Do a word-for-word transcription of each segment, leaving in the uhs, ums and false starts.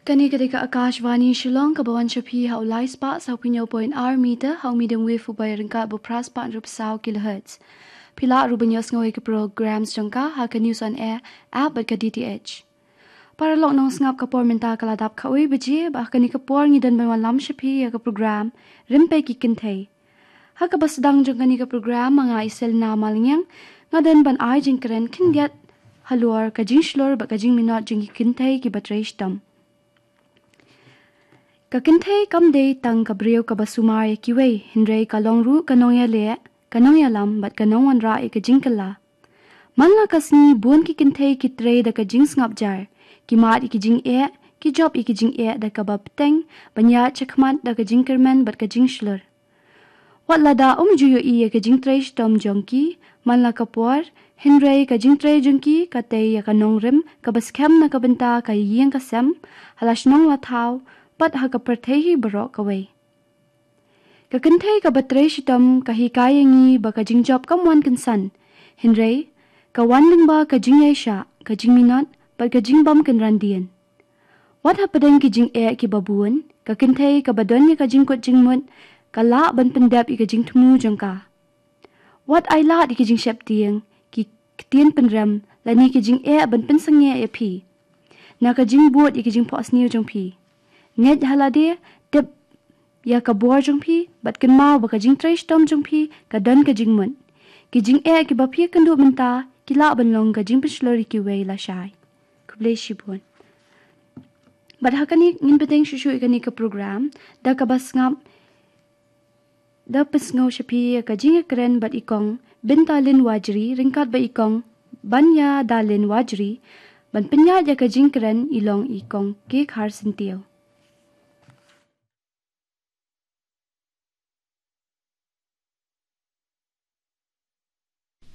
Kane ka dei ka Akashvani Shillong, kaba wan sha phi ha u lai spah saw phew hynñiew point ar meter ha u medium wave uba ïaryngkat bad phra spah hynriew phew saw kilohertz. Phi lah ruh ban ïohsngew ïa ki programs jong ka ha ka News on Air app bad ka D T H. Paralok nongsngap, ka por mynta ka la dap khatwei baje, bad ha kane ka por ngi don ban wallam sha phi ïa ka program Rympei ki Kynthei. Ha kaba sdang jong kane ka program, ma nga i Selina Malngiang, nga don ban ai jingkren khyndiat halor ka jingshlur bad ka jingminot jong ki kynthei kiba trei shitom. Ka kynthei kam dei tang ka briew kaba sumar ïa kiwei, hynrei ka long ruh ka nongïaleh, ka nongïalam bad ka nongwanrah ïa ka jingkylla. Man la ka sngi bun ki kynthei ki trei da ka jingsngap jar, ki mad ïa ki jingeh, ki jop ïa ki jingeh da kaba bteng, ban ïaid shakhmat da ka jingkyrmen bad ka jingshlur. Wat lada um ju ïohi ïa ka jingtrei shitom jong ki man la ka por, hynrei ka jingtrei jong ki ka tei ïa ka nongrim kaba skhem na ka bynta ka ïing ka sem, ha la shnong la thaw, bad ha ka pyrthei hi baroh kawei. Ka kynthei kaba trei shitom ka hikai ïa ngi ba ka jingjop kam wan kynsan, hynrei ka wan lyngba ka jingïaishah, ka jingminot bad ka jingbym kynran dien. Wat hapdeng ki jingeh kiba bun, ka kynthei kaba don ïa ka jingkut jingmut ka lah ban pyndep ïa ka jingthmu jong ka. Wat ai lad ïa ki jingsheptieng, ki ktien pynrem, lane ki jingeh ban pynsangeh ïa phi na ka jingbud ïa ki jingphohsniew jong phi. Ngeit ha lade, tip ïa ka bor jong phi, bad kynmaw ba ka jingtrei shitom jong phi ka don ka jingmut. Ki jingeh kiba phi ïakynduh mynta ki lah ban long ka jingpynshlur ïa kiwei lashai. Khublei shibun. Bad ha kane ngin bteng shuh shuh ïa kane ka program da kaba sngap, da pynsngew sha phi ïa ka jingïakren bad i Kong Bintalin Wajri ryngkat bad i Kong Banyadalin Wajri. Ban pynïaid ïa ka jingkren i long i Kong Kek Har Syntiew.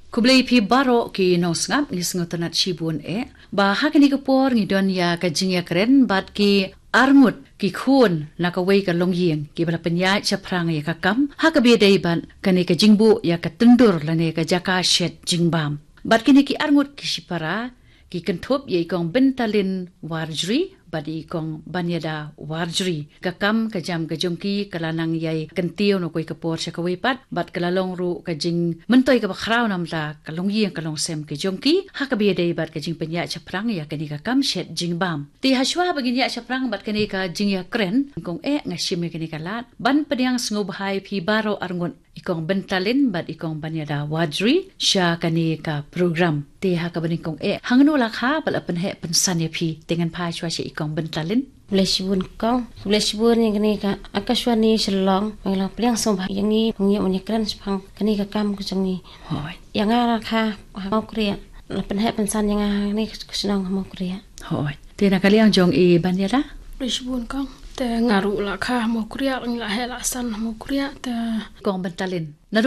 Khublei phi baroh ki nongsngap, ngi sngewtynnat shibun eh ba ha kane ka por ngi don ïa ka jingïakren bad ki arngut ki khun na kawei ka longïing kiba la pynïaid shaphrang ïa ka kam ha kaba ïadei bad kane ka jingbuh ïa ka tyndur lane ka jaka shet jingbam. Bad kine ki arngut ki shipara ki kynthup ïa i Kong Bintalin Warjri bad i Kong Banyada Warjri. Ka kam ka jam ka jong ki ka la nang ïai kyntiew na kawei ka por sha kawei pat, bad ka la long ruh ka jingmyntoi kaba khraw namar ka longïing ka longsem ka jong ki ha kaba ïadei bad ka jingpynïaid shaphrang ïa kane ka kam shet jingbam. Te hashwa ba ngin ïaid shaphrang bad kane ka jingïakren, kong eh, nga shim ïa kane ka lad ban pdiang sngewbha ïa phi baroh arngut, i Kong Bintalin bad i Kong Banyada Wajri, sha kane ka program. Te ha kaba nyngkong eh, hangno la kha ba la pynheh pynsan ïa phi? Te ngan phai shuwa sha i Kong Bintalin. Khublei shibun kong, khublei shibun ïa kane ka Akashvani Shillong ba la pdiang sngewbha ïa ngi ban ïoh ban ïakren shaphang kane ka kam ka jong ngi. Hooid. Ïa nga la kha ha Mawkriah, la pynheh pynsan ïa nga ha kane ka shnong ha Mawkriah. Hooid. Te na ka liang jong i Banyada? Khublei shibun kong. Te nga ruh la kha ha Mawkriah, ngi la heh la san ha Mawkriah, te Kong Bintalin, naduh